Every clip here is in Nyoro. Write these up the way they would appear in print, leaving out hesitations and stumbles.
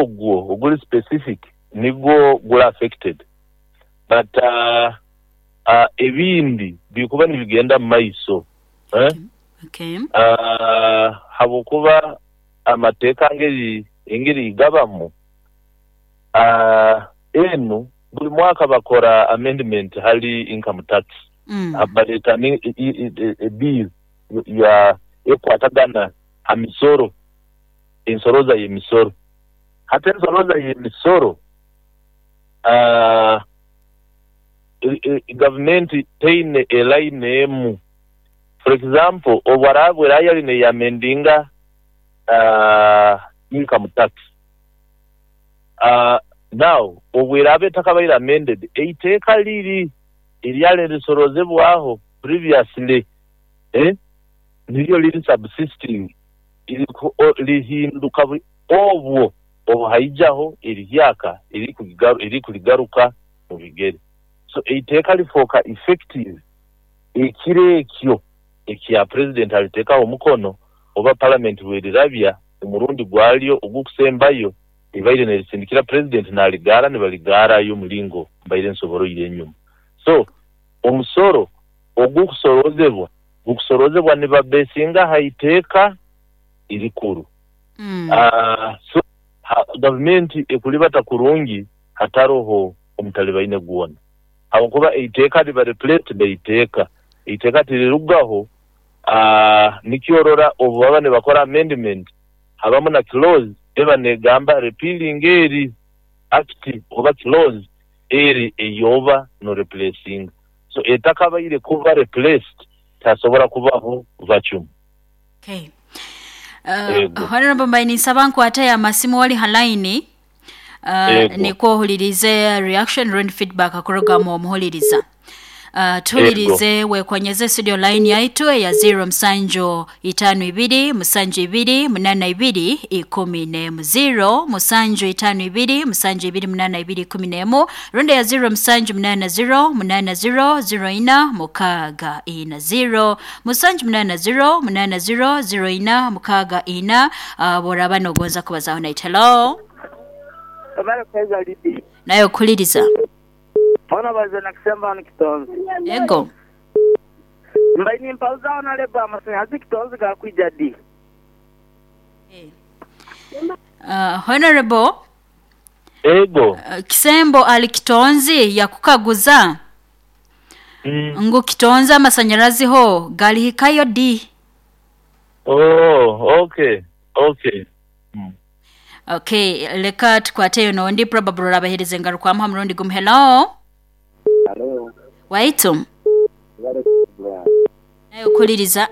Ogwo oguli specific nigwo guli affected but ebindi bikuba nibigenda mu maiso habwokuba amateeka engeri gabamu enu buli mwaka bakora amendment hali income tax, baleeta e bill ekukwatagana ha misoro, ensoroza y'emisoro. Hati ensoroza y'emisoro gavumenti teine e line emu. For example, obu araba yali neyamendinga income tax, now obu eraaba etakabaire amended, eiteeka liri eryali nirisorozebwaho previously niryo liri subsisting, lihinduka obwo obu haijaho erihyaka erikurigaruka mu bigere. So eiteeka lifooka effective ekiro ekyo ekya President aliteekaho omukono oba Parliament bwerirabya omurundi gwalyo ogukusembayo libaire nerisindikira President naligaara nibaligaarayo omulingo mbaire nsoboroire enyuma. So omusoro ogukusorozebwa gukusorozebwa nibabesinga ha iteeka erikuru. So gavumenti ekuribata kurungi hataroho omutalibaine gwona habwokuba eiteeka liba replaced neiteeka. Eiteeka tirirugaho, nikyo orora obu baba nibakora amendment habamu na clause eba negamba repealing eri act oba clause eri eyoba no replacinga. So etakabaire kuba replaced tihasobora kubaho vacuum. Okay. Ego. Honorable, mbaire ninsaba nkwate amasimu wali ha line nikwo ohulirize reaction rundi feedback kuruga mu omuhuliriza. Tuhulirize wekonyeze studio line yaitu eya 0 7 52 72 82 11, 0 7 52 72 82 11, rundi ya 0 7 80 80 04 64, 0 7 80 80 04 64. Bworaba nogonza kubazaho naitwe. Hello. Webale kuheereza, Lydia. Nawe okuliriza. Ona baze na Kisembo hanu Kitonzi. Ego. Mbaire nimpabuza Honorable amasanyarazi Kitonzi gakwija di? Honorable. Ego. Kisembo ali Kitonzi yakukaguza ngu Kitonzi amasanyarazi ho galihikayo di? Oh, okay. Okay, leka tukwateyo nondi, probably orabahereza engarukwamu ha murundi gumu. Hello. Hello. Waitu. Webale program. Nawe okuliriza.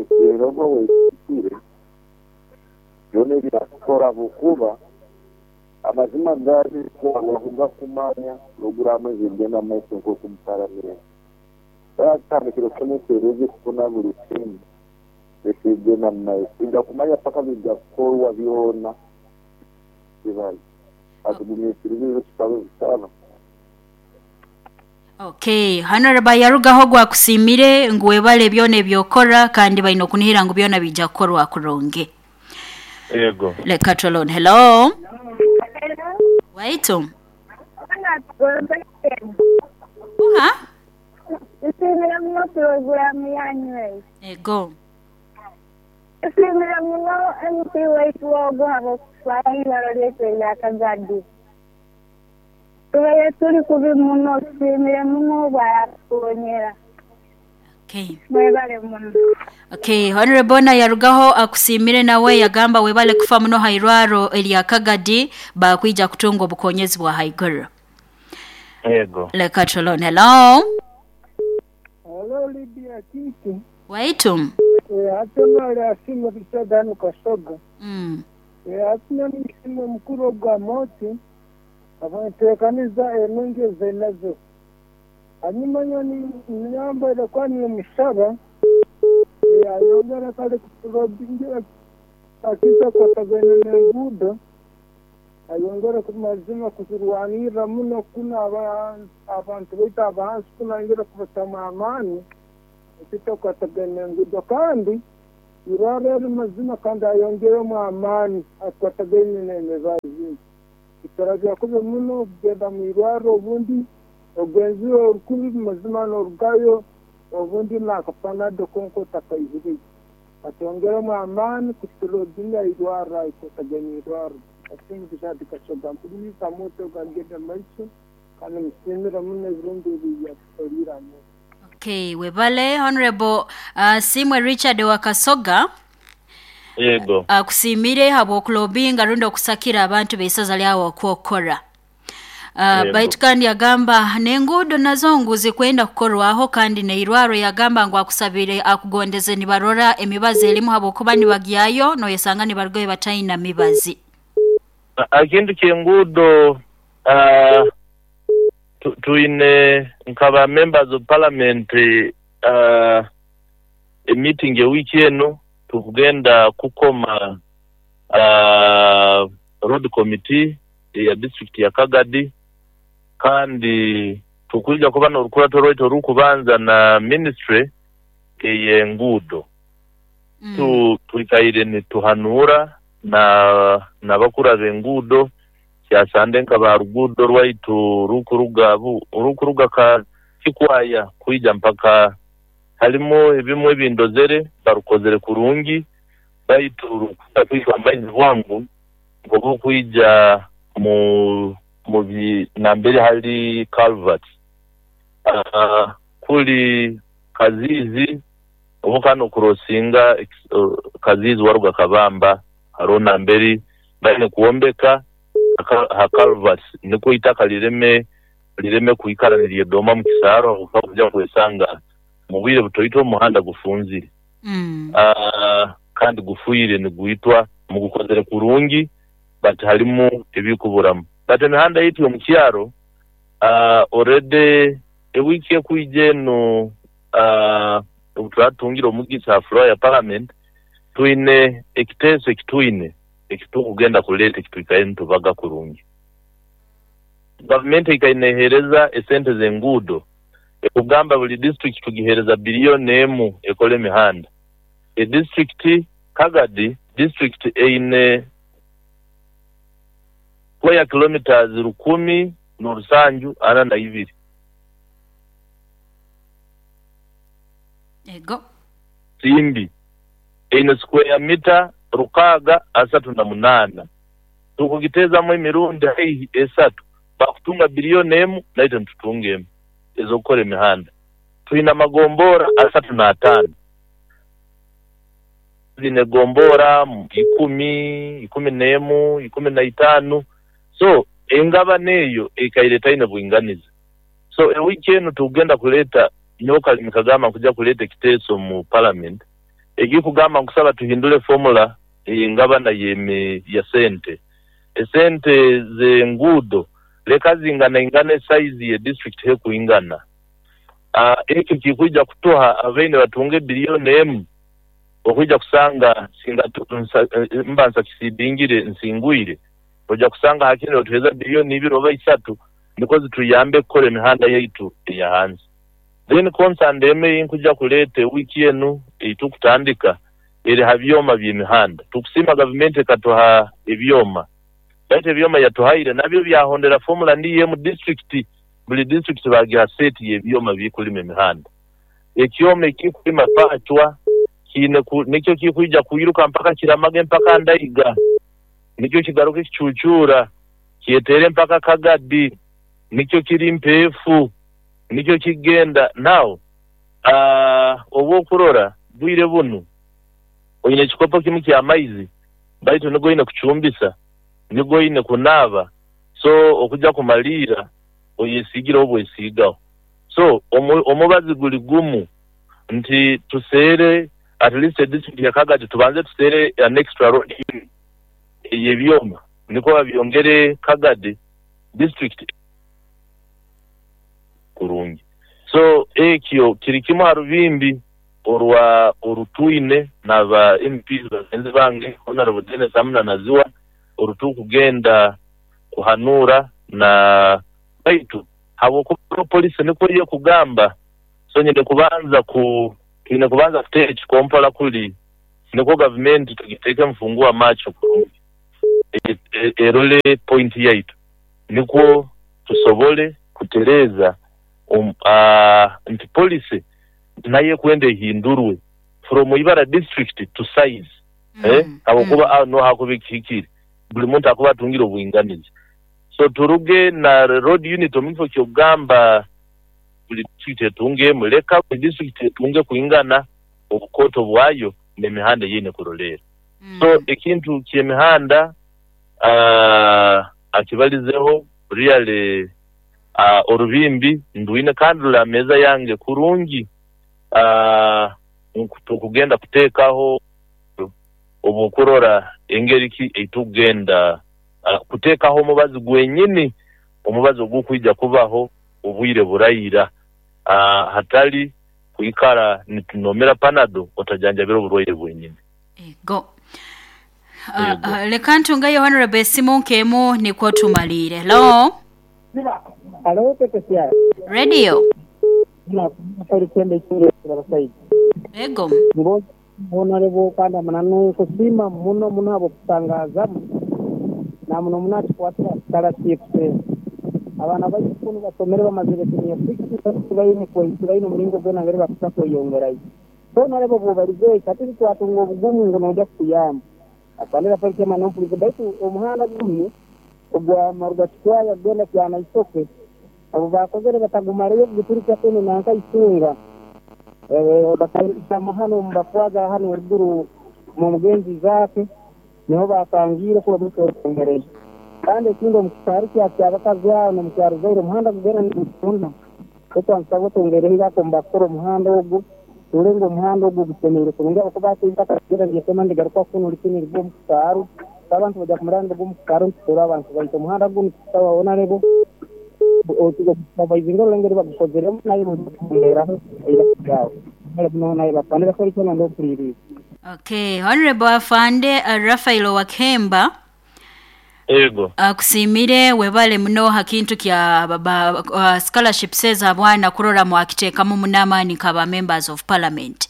Ekirego wekikire byona ebyakukora habwokuba amazima gali wakugakumanya puroguramu ezigenda mumaiso nk'oku omu paramenti batandikire kusomesa erogi kufuna buli kimu ekigenda mumaiso ija kumanya paka bijja kukorwa byona kibali atugumiikirize tusabe busaba. Okay, Honorable yarugaho gwakusimire ngu webale byona ebyokora kandi baine okunihira ngu byona bija kukorwa kurungi. Ego. Leka twelone. Hello. Waitu. Uha? Nsiimire muno puroguramu yanyu eyo. Ego. Nsiimire muno MP waitu ogu habw'okutwara eibaro lyaitu erya Kagadi. Tubaire turi kubi muno, tusiimire muno obwaratukonyera. Mwebale muno. Okay, Honorable na yarugaho akusimire nawe yagamba webale kufa muno hairwaro erya Kagadi bakwija kutunga obukonyezi bwa haiguru. Ego. Leka twelone. Hello. Hello, Lydia Kiki. Waitu. Hati nali asiimwe Richard hanu Kasoga. Hati nisiimwe mukuru ogwa Moti habw'enteekaniza enungi ezainazo. Hanyuma nyowe nyambaire kuba nimusaba ayongere kale akiza kukwatagana n'enguudo, ayongere kumazima kuzirwanirra muno kunu abantu baitu abahansi kunu ayongere kubatamu amaani ekitakwatagana n'enguudo kandi Irwarro eri mazima kandi ayongeremu amaani akwatagaine n'emibazi. Turabya kubi muno kugenda mu irwarro, obundi ogenzire orukubi mazima n'orugayo, obundi n'akapanado konka otakaihireyo. Atwongeremu amaani kuturodinya irwarro akwatagaine irwarro. Asiimwe Richard Kasoga, mpuliriza moto gagenda maiso kandi musiimira muno ebirungi ebi yatukoliire Amooti. Okay, webale Honorable Simwe Richard wa Kasoga. Yego. Akusiimire habw'okulobinga rundi okusakira abantu b'eisaza lyawe okwokora. Yego. Baitu kandi yagamba n'enguudo nazo ngu zikwenda kukorwaho, kandi n'eirwarro yagamba ngu akusabire akugondeze nibarora emibazi erimu habwokuba nibagyayo noyesanga nibarugayo bataina mibazi. Ekintu ky'enguudo twine nka ba members of parliament emeeting ewiiki enu tukugenda kukoma road committee eya district ya Kagadi, kandi tukwija kuba n'orukurato rwaitu orukubanza na ministry ey'enguudo. Twikaire nituhanuura n'abakuru ab'enguudo kyasande nka ba ruguudo rwaitu orukuruga ka Kikwaya kwija mpaka halimu ebimwe ebindozere barukozere kurungi, baitu rukuza kwitwa amaizi bwangu obukwija mu nambere hali culvert. Kuli Kaziizi obuka n'okurosinga Kaziizi waruga Kabamba hariho nambere baine kwombeka ha culvert nikwo eitaka lireme kwikara niryedoma mu kisaaro habwokuba kuja kwesanga mu bwire butoito omuhanda gufunzire. Kandi gufuire nigwitwa mugukozere kurungi but halimu ebikuburamu. But emihanda yaitu omu kyaro already ewiiki ekwija enu obu turatungire omugisa ha floor ya parliament, twine ekiteeso ekitwine ekitukugenda kuleeta ekitwikaire nitubaga kurungi. Gavumenti eikaire neehereza esente z'enguudo ekugamba buli district tugihereza biliyoni emu ekole emihanda. Edistrict Kagadi district eine square kilometers 1,742. Ego. Simbi eine square mita 638. Tukugiteezamu emirundi haihi esatu, bakutunga biliyoni emu naitwe nitutunga emu ez'okukora emihanda. Twine amagombora 35. Zine gombora 10, 11, 15. So engabana eyo ekaire etaine bwinganiza. So ewiiki enu tukugenda kuleeta nyowe Kalimi kagamba nkuja kuleeta ekiteeso mu parliament ekikugamba nkusaba tuhindule formula ey'engabana ya sente. Esente z'enguudo leka zinganaingana esaizi ye district hekuingana. Ekyo kikwija kutuha abaine batunge biliyoni emu okwija kusanga singa mba nsakisidingire nsingwire ojja kusanga hakiri otuheza biliyoni 2 oba 3 niko zituyambe kukora emihanda yaitu eya hansi. Then concern eme nkuja kuleeta wiki enu eitukutandika eri ha byoma by'emihanda. Tukusima gavumenti ekatuha ebyoma, baitu ebyoma yatuhaire nabyo byahondera formula ndiyo mu district, buli district bagiha seti y'ebyoma bikulima emihanda. Ekyoma ekikulima pachwa kiine nikyo kikwija kwiruka mpaka Kiramage mpaka Ndaiga, nikyo kigaruka ekicucura kyetere mpaka Kagadi, nikyo kiri Mpeefu, nikyo kigenda. Now obwokurora bwire bunu oine ekikopo kimu ky'amaizi baitu nigo oine kucumbisa, nigo oine kunaaba, so okuja kumaliira oyesiigireho obwesiigaho. So omubazi guli gumu nti tuseere at least edistrict ya Kagadi tubanze tuseere an extra road unit ey'ebyoma niko babyongere Kagadi district kurungi. So ekyo kiri kimu ha rubimbi orwa orutwine n'aba MPs bagenzi bange Honorable Dennis Amuna Naziwa orutukugenda kuhanura na baitu habwokuba polisi niko yekugamba, so nyine kubanza ku twine kubanza kuteera ekikompola kuli. Nikwo gavumenti tugiteekemu fungua macho kurungi erole pointi yaitu nikwo tusobole kutereeza nti policy nayo ekwenda ehindurwe from Ibara district to size habwokuba aho niho hakuba ekihikire buli muntu akuba atungire obwinganiza. So turuge na road unit omu kifo ky'okugamba buli district etunge emu, leka buli district etunge kwingana obukooto bwayo n'emihanda ei eine kuroleera. So ekintu ky'emihanda akibalizeho really orubimbi ndwine kandi ruli aha meeza yange kurungi tukugenda kuteekaho obw'okurora engeri ki ei tukugenda kuteekaho omubazi gwenyini, omubazi ogukwija kubaho obwire buraira hatali kwikara nitunomera panado otajanjabire oburwaire bwenyini. Ego. Leka ntungeyo Honorable esimu nk'emu nikwo tumaliire. Hello? Halo, Pepe. Radio. Ego. Honorable kandi amananu nkusiima muno muno habw'okutangazamu na muno muno atukwatira scholarships. Abaana baitu kunu basomere bamazire senior six, tibaine tibaine omuringo gwona ngeri bakusa kweyongerayo. So Honorable bw'obalize kati twatunga obugumu ngu noija kutuyamba. Atandika Felix nompulize baitu omuhanda gunu ogwa Maruga Kikwaya kugenda Kyanaisoke obu bakozere batagumarayo guturukya kunu nanka Itunga bakaisama hano mubakwaga hano eruguru mu mugenzi zake niho bakangiire kuba mutongereyo. Kandi ekindi omu kisaru kya kyabakazi aho n'omukyaro Zaire omuhanda gugenda nigutunda ekwansaba otongereho ako mubakukora omuhanda ogu tulenga omuhanda ogu gusemeire kurungi ahabwokuba hati eitaka ligenda niryetema nirigaruka kunu likini rigwa omu kisaaru abantu bajja kumara nirigwa omu kisaaru nitutura abantu baitu omuhanda gunu tusaba Honorable obaizinga orulengeri bagukozeremu naye bongeraho eiraka naye bafanira Felix ndokuliriza. Okay, Honorable Afande Raphael Wakemba. Ego. Akusiimire webale muno ha kintu kya scholarships ez'abaana kurora mwakiteekamu munamaani nk'aba members of parliament.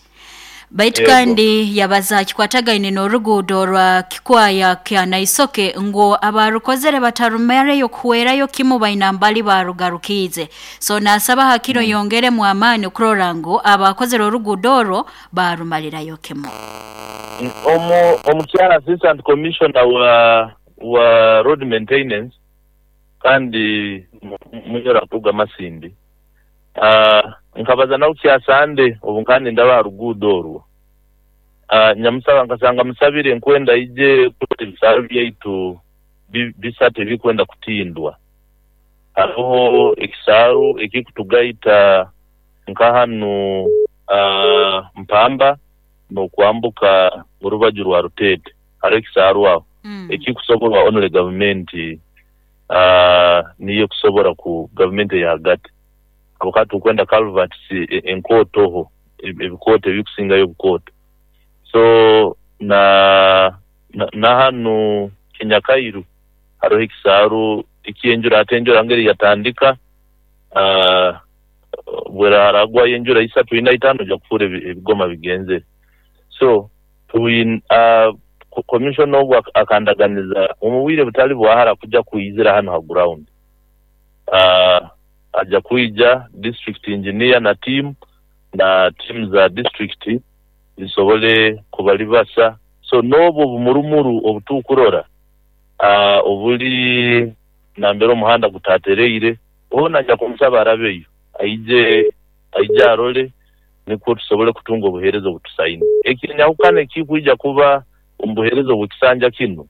Baitu kandi yabaza kikwatagaine n'oruguudo rwa Kikwaya kya Naisoke ngu abarukozere batarumareyo kuhwerayo kimu baina mbali barugarukiize. So nasaba hakiro yongeremu amaani kurora ngu abakozere oruguudo orwo barumalirayo kimu. Omukyala assistant commissioner wa road maintenance kandi munyora kuruga Masindi. Nkabaza nawe kyasande obu nkandi ndaba aha ruguudo orwo. Nyamusaba nkasanga musabire nkwenda ije kurora ebisaaru byaitu bisatu ebikwenda kutindwa. Hariho ekisaaru ekikutugaita nka hanu Mpamba n'okwambuka orubaju rwa Rutete. Hariho ekisaaru aho ekikusoborwa only gavumenti niyo ekusobora ku gavumenti eyahagati. Habwokuba tukwenda culverts enkootoho ebikooto ebikusingayo obukooto. So na hanu Kinyakairu hariho ekisaaru eky'enjura hati enjura ngeri yatandika bweraragwayo enjura isatu ina itaano ojja kufuura ebigoma bigenzere. So commissioner ogu akandaganiza omu bwire butali bwahara kuja kwizira hano ha ground. Aja kwija district engineer na team za district zisobole kubalibasa. So n'obwo obumurumuru obutukurora obuli nambere omuhanda gutatereire ona nja kumusaba arabeyo aije arole nikwo tusobole kutunga obuheereza obutusaine. Ekinyahukana ekikwija kuba omu buheereza obw'ekisanja kinu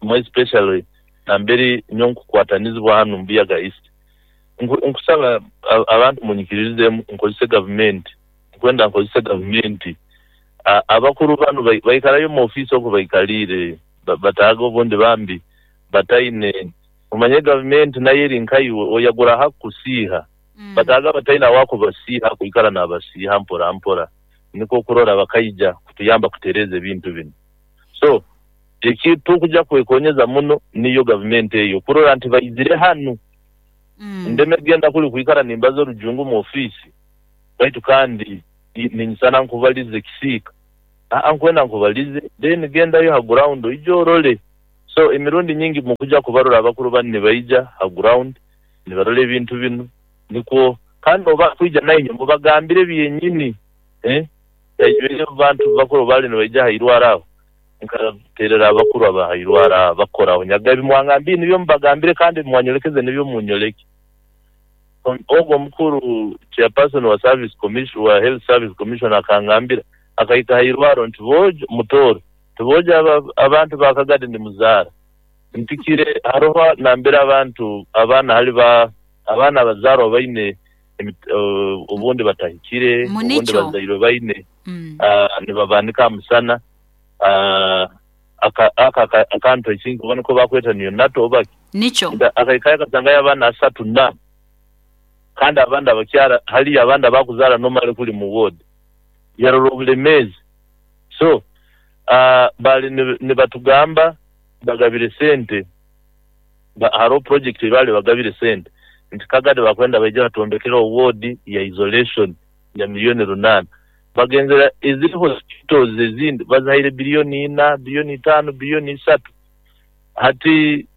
more especially nambere nyowe nkukwatanizibwa hanu Mbuyaga East. Nkusaba abantu munyikirizemu nkozese gavumenti nkwenda nkozese gavumenti. Abakuru banu baikarayo mu ofiisi oku baikaliire bataaga obundi bambi bataine omanye gavumenti nayo eri nkaiwe oyagura hakukusiiha bataaga bataine awakubasiiha kwikara nabasiiha mpora mpora nikwo kurora bakaija kutuyamba kutereeza ebintu binu. So ekitukuja kwekonyeza muno niyo gavumenti eyo kurora nti baizire hanu. Ndeme genda kuli kwikara nimbaza orujungu mu ofiisi baitu kandi ninyisana nkubaliza ekisiika. Aa nkwenda nkubalize then gendayo ha ground oije orole. So emirundi nyingi mukuja kubarora abakuru banu nibaija ha ground nibarora ebintu binu nikwo kandi obu bakwija nainywe mubagambire byenyini abantu bakuru baali nibaija ha irwaro aho nkaterera abakuru aba ha irwaro aho abakora aho nyaga ebimwangambire nibyo mubagambire kandi ebimwanyolekeze nibyo munyoleke. Ogu omukuru chairperson wa service commission wa health service commission akangambira akahika ha irwaro nti boojo Mutooro nti boojo abantu ba Kagadi nimuzaara mpikire haroho nambere abantu abaana hali ba abaana abazaarwa baine obundi batahikire obundi bazairwe baine nibabaanika ha musana aka akantu I think oba niko bakweta neonatal oba ki Nikyo. Akahikayo akasangayo abaana asatu na kandi abandi abakyara haliyo abandi abakuzaara nomale kuli mu ward yarora obulemeezi so baali nibatugamba bagabire sente haroho project eyi baali bagabire sente nti Kagadi bakwenda baije batwombekereho ward ya isolation ya miliyoni 8 bagenzera eziri hospitals ezindi bazihaire biliyoni 4, biliyoni 5, biliyoni 3 hati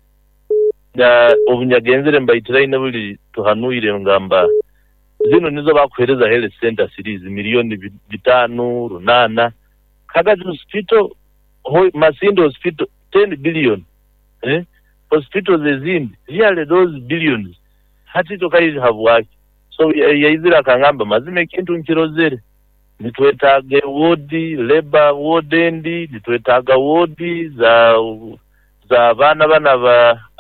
obunyagenzere mbaitiraine buli tuhanuire ngamba zinu nizo bakuhereza health center series miliyoni 5, 8 Kagadi hospital, Masindi hospital 10 billion hospitals ezindi really those billions hati tokaija habwaki so yaizire akangamba mazima ekintu nkirozere nitwetaaga wodi labor ward endi nitwetaaga wodi za abaana bana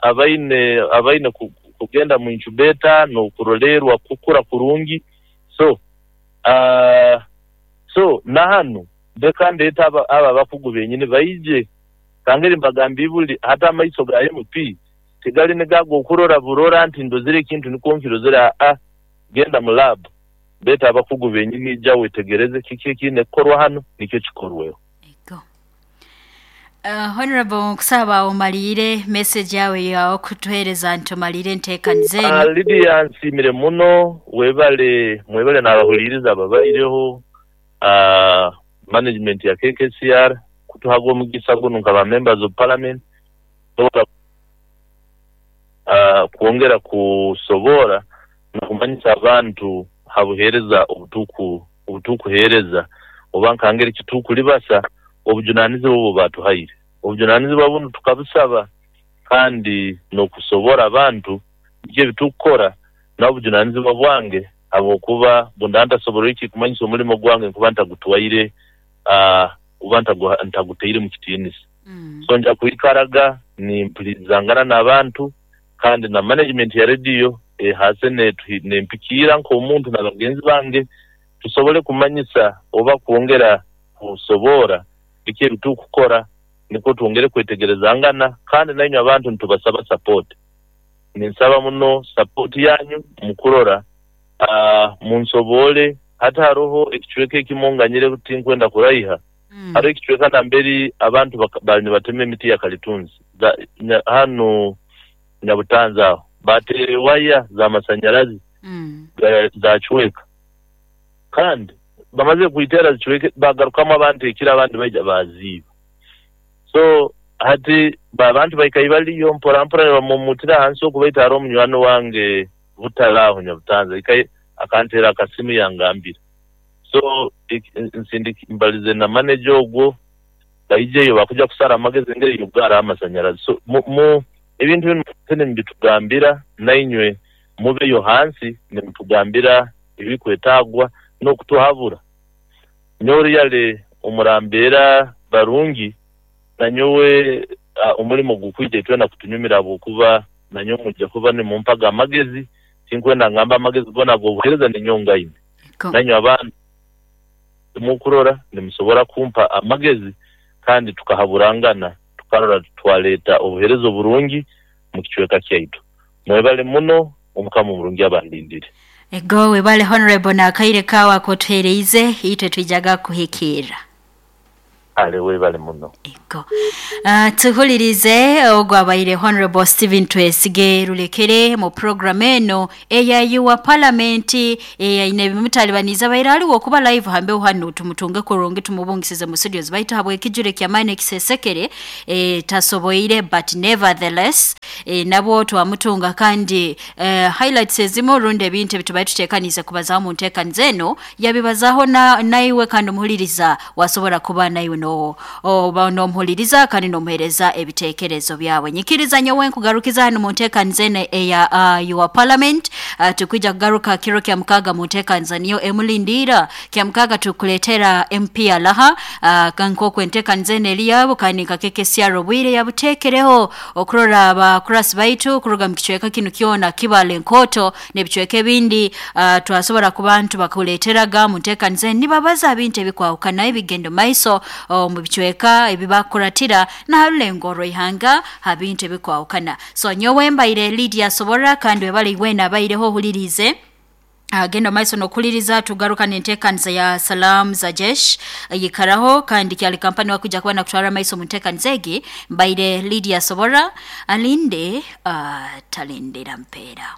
abaine kugenda mu incubator n'okurolerwa kukura kurungi so so nahanu ndeka ndeeta aba abakugu benyini baije kangeri mbagamba ibuli hata amaiso ga MP tigali nigago okurora burora nti ndozire ekintu nikwo nkirozere aa genda mu lab beeta abakugu benyini ija wetegereze kiki ekiine kukorwa hanu nikyo kikorweho. Honorable nkusaba omalire message yawe yakutuhereza nti omalire enteekaniza eno. Lydia nsiimire muno webale mwebale n'abahuliriza ababaireho management ya KKCR kutuhaga omugisa gunu nka ba members of parliament kwongera kusobora n'okumanyisa abantu ha buheereza obutukuheereza oba nkangeri kitukulibasa obujunanizibwa obu batuhaire. Obujunanizibwa bunu tukabusaba kandi n'okusobora abantu biki ebitukukora n'obujunanizibwa bwange habwokuba bunda ntasobora iki kumanyisa omulimo gwange nkuba ntagutwaire kuba ntagutaire mu kitiinisa. So nja kwikaraga nimpulizangana n'abantu kandi na management ya radio hase nempikiira nk'omuntu na bagenzi bange tusobole kumanyisa oba kwongera kusobora biki ebitukukora nikwo twongere kwetegerezangana kandi nainywe abantu nitubasaba support. Ninsaba muno support yanyu mukurora munsobole hata haroho ekicweka ekimonganyire tinkwenda kuraiha. Hariho ekicweka namberi abantu bali nibatema emiti ya kalitunzi hanu Nyabutanza aho batere waya za masanyarazi zacweka kandi bamaze kuitera zicweke bagarukamu abantu ekira abandi baija baziiba. So hati abantu baikayi baliyo mpora mpora nibamumutira hansi okubaita hariho omunywani wange Butare aho Nyabutanza akantera akasimu yangambira. So mbalize na manager ogwo baijeyo bakuja kusara amagezi engeri y'okugaara amasanyarazi. So ebintu binu nibitugambira nainywe mubeyo hansi nimutugambira ebikwetagwa n'okutuhabura. Nyowe yale omurambeera barungi nanyowe omulimo gukwija itwena kutunyumira habwokuba nanyowe mujja kuba nimumpaga amagezi tinkwenda ngamba amagezi gona ag'obuheereza ninyongaine. Nanywe abantu mukurora nimusobora kumpa amagezi kandi tukahaburangana tukarora twaleeta obuheereza oburungi mu kicweka kyaitu. Mwebale muno omukama omurungi abandindire. Ego webale honorable na akaire kawa kotuhereize itwe twijaga kuhikira. Ale webale muno. Ego. Tuhulirize ogwo abaire Honorable Stephen Twesige Rulekere mu program eno eya yuwa parliament eyaine ebimutalibaniza abaire aliwo okuba live hambeho hano tumutunge kurungi tumubungisize mu studios baitu habwe ekijure kyamaani ekisesekere tasoboire, but nevertheless nabwo twamutunga kandi highlights ezimu rundi ebintu ebitubaire tuteekaniize kubazaho mu nteekaniza eno yabibazaho na naiwe kandi omuhuliriza wasobora kuba naiwe no oba n'omuhuliriza kandi n'omuheereza ebiteekerezo byawe. Nyikiriza nyowe nkugarukiza hano mu nteekaniza eno eya your parliament. Tukwija kugaruka kiro kya mukaaga mu nteekaniza niyo emulindiira kya mukaaga tukuleetera MP alaha nk'oku enteekaniza eno eri yabo kandi nkakeke obwire yabuteekereho okurora abakurasi baitu kuruga mu kicweka kinu kyona Kibale Nkoto n'ebicweka ebindi. Twasobora kuba ntubakuleeteraga mu nteekaniza eno nibabaza bintu ebikwahukana ebigendo maiso omu bicweka ebibakuratira n'aharulengo orw'ihanga ha bintu ebikwahukana. So nyowe mbaire Lydia Sobora kandi webale iwena abaireho ohuliriize. Genda maiso n'okuhuliriza tugaruka n'enteekaniza ya Salam za Jesh yikaraho kandi kyali kampani wakuja kuba nakutwara maiso mu nteekaniza egi. Mbaire Lydia Sobora alinde talindira mpeera.